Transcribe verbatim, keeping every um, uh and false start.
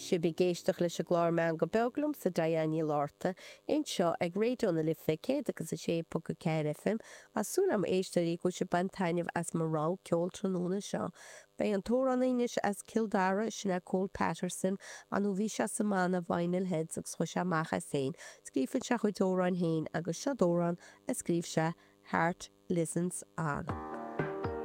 Sibh ag éisteacht leis an gclár Meangadh Beag liomsa Diane Ní Fhlatharta anseo ag Raidió na Life céad agus a sé ponc a ceathair FM. Tá súil agam a éisteoirí go bhfuil sibh ag baint taitneamh as mo rogha ceoil tráthnóna seo. Beidh an t-amhránaí anois as Cill Dara, sin é Cole Patterson, nó bhí sé sa mbanna Vinyl Heads agus chuaigh sé amach as féin. Scríobhann sé a chuid amhráin féin agus seo amhrán a scríobh sé Heart Listens On.